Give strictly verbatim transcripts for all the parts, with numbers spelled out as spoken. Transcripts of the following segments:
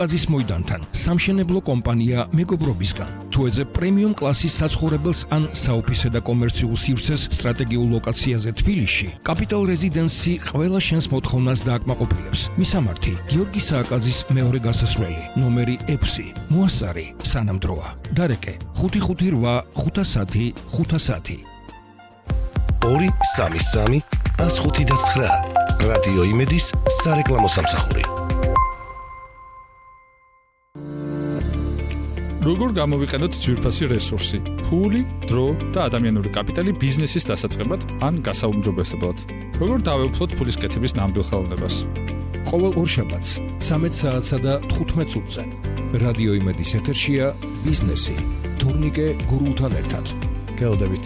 აზის მოედანთან სამშენებლო კომპანია მეგობრობისგან. თუ ეძებ პრემიუმ კლასის საცხოვრებელს ან საოფისე და კომერციულ სივრცეს სტრატეგიულ ლოკაციაზე თბილისში, Capital Residency ყველა შენს მოთხოვნას დააკმაყოფილებს. მისამართი: გიორგი სააკაძის მეორე გასასვლელი, ნომერი ექვსი, მოასარი, სანამდროა. დარეკე: ხუთი ხუთი რვა ხუთასათი ხუთასათი. ორი სამი სამი ას ხუთი და ცხრა. რადიო იმედის სარეკლამო სამსახური. როგორ გამოვიყენოთ ძვირფასი რესურსი, ფული, დრო და ადამიანური კაპიტალი ბიზნესის დასაწყებად ან გასაუმჯობესებლად. როგორ დავეუფლოთ ფულის კეთების ნამდვილ ხელოვნებას. ყოველ ორშაბათს ცამეტ საათსა და თხუთმეტ წუთზე რადიო იმედის ეთერშია ბიზნესი თურნიკე გურულთან ერთად. გელოდებით.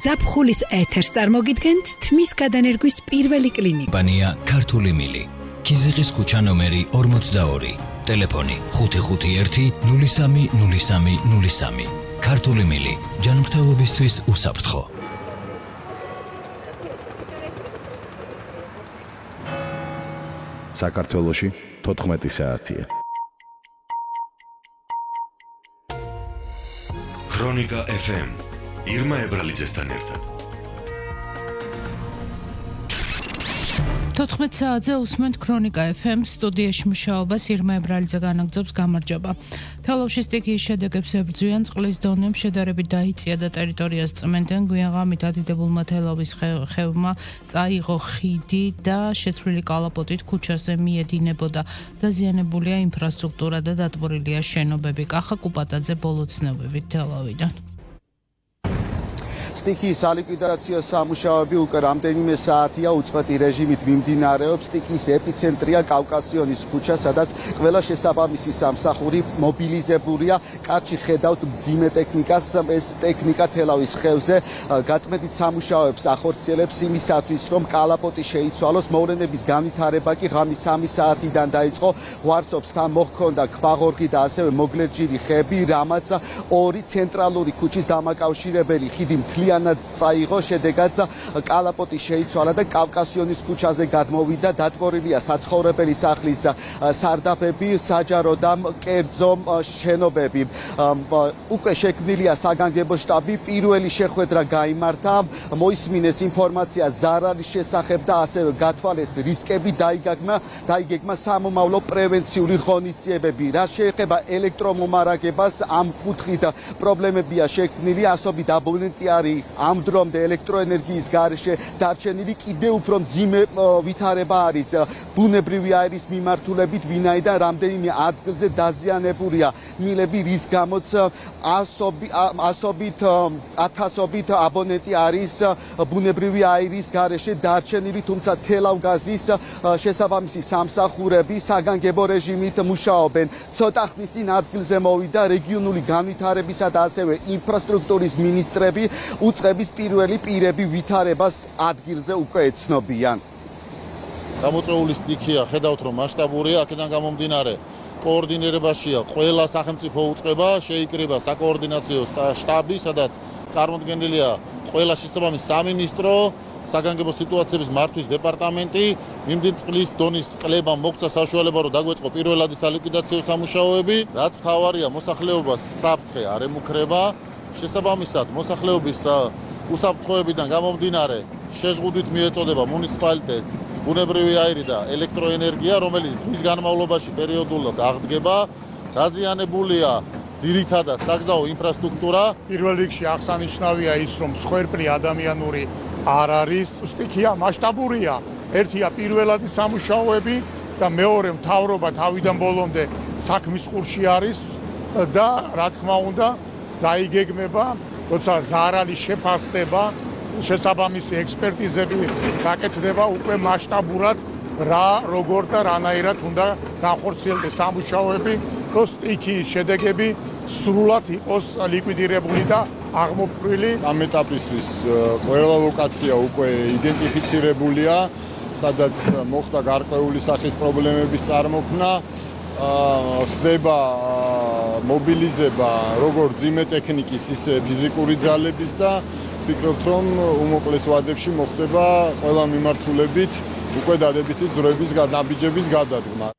ზაფხულის ეთერს წარმოგიდგენთ თმის გადანერგვის პირველი კლინიკა. კომპანია ქართული მილი. ქიზიყის ქუჩა ნომერი ორმოცდაორი. ტელეფონი ხუთი ხუთი ერთი ნული სამი ნული სამი ნული სამი. ქართული მილი. ჯანმრთელობისთვის უსაფრთხო. საქართველოში თოთხმეტი საათია. ქრონიკა ეფ ემ ირმა ებრალიძესთან ერთად. თოთხმეტ საათზე უსმენთ ქრონიკა ეფ ემ-ს, სტუდიაში მუშაობას ირმა ებრალიძე განაგრძობს. გამარჯობა. თელავში სტიქიის შედეგებს ებრძვიან, წყლის დონემ შედარებით დაიწია და ტერიტორიას წმენდნენ. გვიან ღამით ადიდებულმა თელავის ხევმა წაიღო ხიდი და შეცვლილი კალაპოტით ქუჩაზე მიედინებოდა. დაზიანებულია ინფრასტრუქტურა და დატბორილია შენობები. კახა კუპატაძე ბოლო ცნობებით თელავიდან. სტიქიის სალიკვიდაციო სამუშაოები უკვე რამდენიმე საათია უწყვეტი რეჟიმით მიმდინარეობს. სტიქიის ეპიცენტრია კავკასიონის ქუჩა, სადაც ყველა შესაბამისი სამსახური მობილიზებულია. კაცი ხედავთ მძიმე ტექნიკას, ეს ტექნიკა თელავის ხევზე გაწმენდით სამუშაოებს ახორციელებს იმისათვის, რომ კალაპოტი შეიცვალოს. მოვლენების განვითარება კი ღამის სამი საათიდან დაიწყო. ღვარცობს თან მოჰქონდა ქვაღორღი და ასევე მოგლერჯირი ხეები, რამაც ორი ცენტრალური ქუჩის დამაკავშირებელი ხიდი მთლიანად წაიღო. შედეგად კალაპოტი შეიცვალა და კავკასიონის ქუჩაზე გადმოვიდა. დატბორილია საცხოვრებელი სახლის სარდაფები, საჯარო და კერძო შენობები. უკვე შექმნილია საგანგებო შტაბი. პირველი შეხვედრა გაიმართა. მოისმინეს ინფორმაცია ზარალის შესახებ და ასევე გათვალეს რისკები. დაიგეგმა დაიგეგმა სამომავლო პრევენციული ღონისძიებები. რაც შეეხება ელექტრომომარაგებას, ამ კუთხით პრობლემებია შექმნილი. ასობით აბონენტი არის ამ დრომდე ელექტროენერგიის გარეშე დარჩენილი. კიდევ უფრო მძიმე ვითარება არის ბუნებრივი აირის მიმართულებით, ვინაიდან რამდენიმე ადგილზე დაზიანებულია მილები, რის გამოც ასობით ათასობით აბონენტი არის ბუნებრივი აირის გარეშე დარჩენილი, თუმცა თელავგაზის შესაბამისი სამსახურები საგანგებო რეჟიმით მუშაობენ. ცოტა ხნის წინ ადგილზე მოვიდა რეგიონული განვითარებისა და ასევე ინფრასტრუქტურის მინისტრები. უწყების პირველი პირები ვითარებას ადგილზე უკვე ეცნობიან. გამოწვეული სტიქია, ხედავთ რომ მასშტაბურია, აქედან გამომდინარე კოორდინირებაშია ყველა სახელმწიფო უწყება, შეიკრიბა საკოორდინაციო შტაბი, სადაც წარმოდგენილია ყველა შესაბამისი სამინისტრო, საგანგებო სიტუაციების მართვის დეპარტამენტი. მიმდენ წყლის დონის კლებამ მოგვცა საშუალება, რომ დაგვეწყო პირველადი სალიკვიდაციო სამუშაოები. რაც მთავარია, მოსახლეობას საფრთხე არ ემუქრება. შესაბამისად, მოსახლეობის უსაფრთხოებიდან გამომდინარე შეზღუდვით მიეწოდება მუნიციპალიტეტს ბუნებრივი აირი და ელექტროენერგია, რომელიც დღის განმავლობაში პერიოდულად აღდგება. დაზიანებულია ძირითადად საგზაო ინფრასტრუქტურა. პირველ რიგში აღსანიშნავია ის, რომ მსხვერპლი ადამიანური არ არის. სტიქია მასშტაბურია. ერთია პირველადი სამუშაოები და მეორე მთავრობა თავიდან ბოლომდე საქმის ყურში არის და რა თქმა უნდა დაიგეგმება, როცა ზარალი შეფასდება, შესაბამისი ექსპერტიზები გაკეთდება უკვე მასშტაბურად რა, როგორ და რანაირად უნდა განხორციელდეს სამუშაოები, რომ სტიქიის შედეგები სრულად იყოს ლიკვიდირებული და აღმოფხვრილი. ამ ეტაპისთვის ყველა ლოკაცია უკვე იდენტიფიცირებულია, სადაც მოხდა გარკვეული სახის პრობლემების წარმოქმნა. ხდება მობილიზება როგორც ძიმე ტექნიკის, ისე ფიზიკური ძალების და ვფიქრობთ, რომ უმოკლეს ვადებში მოხდება ყველა მიმართულებით უკვე დადებითი ძროების ნაბიჯების გადადგმა.